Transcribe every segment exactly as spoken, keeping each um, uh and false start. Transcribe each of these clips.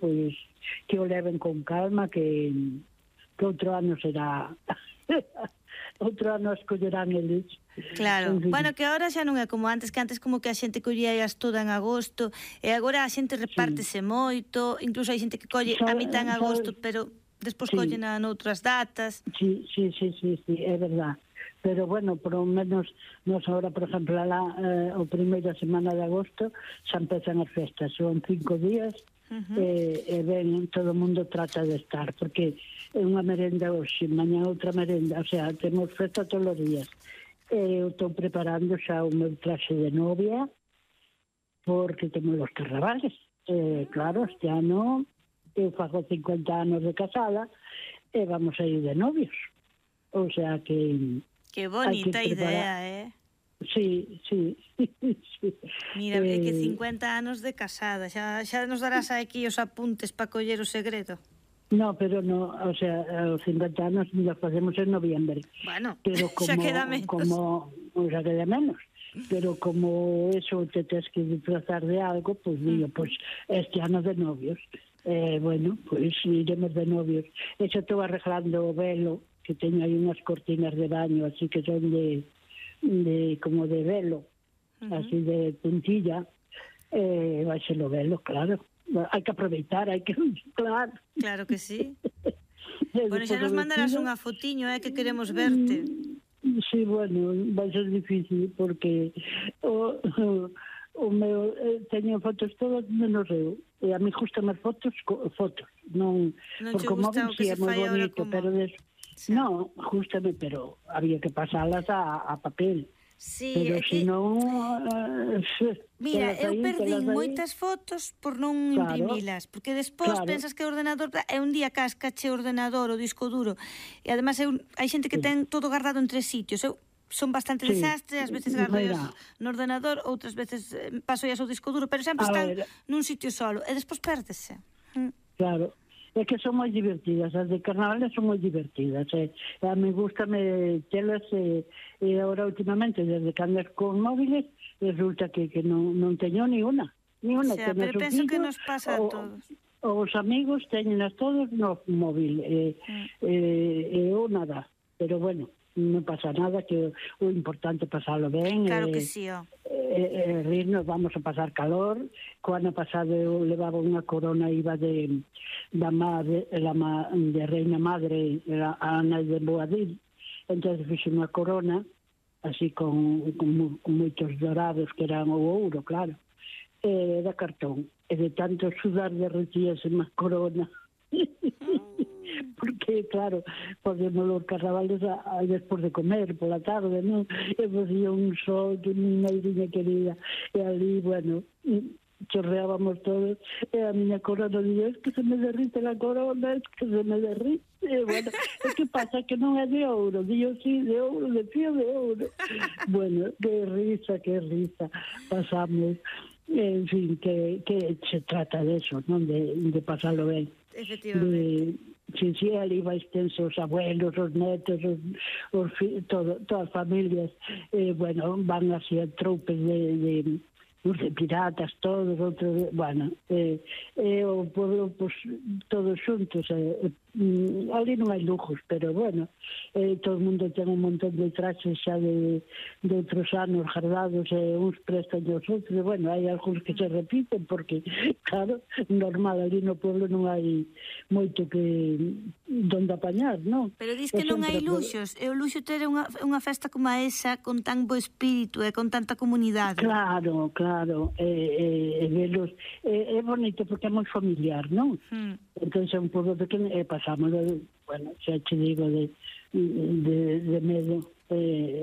pois que o leven con calma, que, que outro ano será outro ano escollerán eles. Claro, bueno, que agora xa non é como antes, que antes como que a xente collías toda en agosto, e agora a xente repártese sí. moito, incluso hai xente que colle a mitad en agosto, pero despois sí. collen a noutras datas. Sí, sí, sí, sí, sí, é verdad. Pero bueno, por lo menos nos ahora, por exemplo, la, eh, o primeira semana de agosto xa empezan as festas, son cinco días. Uh-huh. e, e ben, todo o mundo trata de estar, porque é unha merenda hoxe, mañá outra merenda, o sea, temos festa todos os días. E eu estou preparando xa o meu traxe de novia, porque temos os carnavales. E, claro, este ano eu fago cincuenta anos de casada e vamos a ir de novios. O sea que... Que bonita idea, eh? Sí, sí, sí. Mira, eh, que cincuenta anos de casada, xa, xa nos darás aquí os apuntes para coller o segredo. No, pero no, o sea, os cincuenta anos nos facemos en noviembre. Bueno, pero como, xa queda menos. Como, xa queda menos. Pero como eso te tens que disfrazar de algo, pues digo, pues este ano de novios. Eh, bueno, pues iremos de novios. Eso estou arreglando o velo, que teño aí unhas cortinas de baño, así que son de... de como de velo, uh-huh. así de puntilla, eh, vai ser o velo, claro. Hai que aproveitar, hai que... Claro. Claro que sí. Bueno, xa nos mandarás unha fotiño, eh, que queremos verte. Sí, bueno, vai ser difícil, porque o, o, o meu, eh, teño fotos todas menos eu. E a mí gustan as fotos, fotos. Non, non porque o móvil sí é moi bonito, como... pero... Des... Sí. No, justamente, pero había que pasarlas a, a papel. Sí, pero que... si non... Uh, Mira, eu perdín moitas fotos por non claro, imprimilas, porque despois claro. pensas que o ordenador é un día cascache o ordenador, o disco duro, e además eu, hai xente que sí. ten todo guardado en tres sitios. Eu son bastante sí. desastre, ás veces gardo no ordenador, outras veces paso as ao disco duro, pero sempre a están ver. nun sitio solo, e despois pérdese. Claro. É que son moi divertidas, as de carnavales son moi divertidas, e a mí gustame telas, e, e agora últimamente, desde que andas con móviles, resulta que, que non, non teño ni una, ni una. O sea, pero penso que nos pasa a todos. Os amigos teñenas todos no móvil, e, mm. e, e eu nada, pero bueno, non pasa nada, que o importante é pasalo ben. Claro e, que sí, ó. E, e rirnos, vamos a pasar calor. Co ano pasado eu levaba unha corona, iba de da madre, la ma, de reina madre, a Ana de Boadil, entón fixe unha corona así con, con, con moitos dorados que eran o ouro, claro, e da cartón, e de tanto sudar derretíase má corona. Porque, claro, podemos os carnavales a, a despois de comer, pola tarde, non? E facía un sol que miña irinha querida, e ali, bueno, chorreábamos todos, e a miña corona día, es que se me derrite la corona, es que se me derrite, e bueno, e que pasa que non é de ouro, digo, sí, de ouro, de fío de ouro. Bueno, que risa, que risa, pasamos, en fin, que, que se trata de eso, non? De, de pasarlo ben. Efectivamente. De, sí, sí, ali vais tenso os abuelos, os netos, os, os todo, todas as familias, eh, bueno, van así a troupes de, de, de piratas, todos, outros, bueno, eh, eh, o pueblo, pues, todos xuntos, eh, eh, ali non hai lujos, pero bueno, eh, todo o mundo ten un montón de traxes xa de, de outros anos guardados, e eh, uns prestan os outros, e bueno, hai algúns que se repiten, porque, claro, normal, ali no pueblo non hai moito que donde apañar, non? Pero dis que non hai luxos, e o luxo ter unha, unha festa como esa, con tan bo espírito e con tanta comunidade. Claro, claro, e eh, eh, velos, eh, é bonito porque é moi familiar, non? Hmm. Entón é un pueblo pequeno, e pasamos, de, bueno, xa te digo, de, de, de medo. Eh,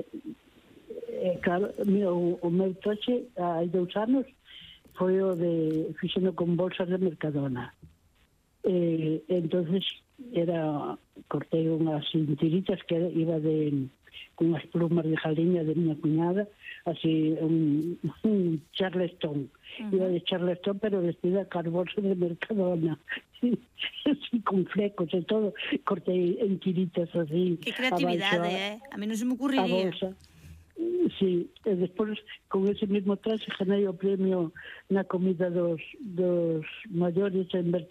eh, claro, o, o meu toche, hai dous anos, foi o de, fixeno con bolsas de Mercadona. Eh, entonces era, cortei unhas tiritas que iba de, con unhas plumas de jaliña de miña cuñada, así, un, un Charleston. Uh-huh. Iba de Charleston, pero vestida con bolsas de Mercadona. Así, con flecos e todo, cortei en tiritas así. Que creatividade, a, eh? A mí non se me ocurriría. Sí, e despois con ese mismo traxe ganei o premio na comida dos, dos maiores en Berta.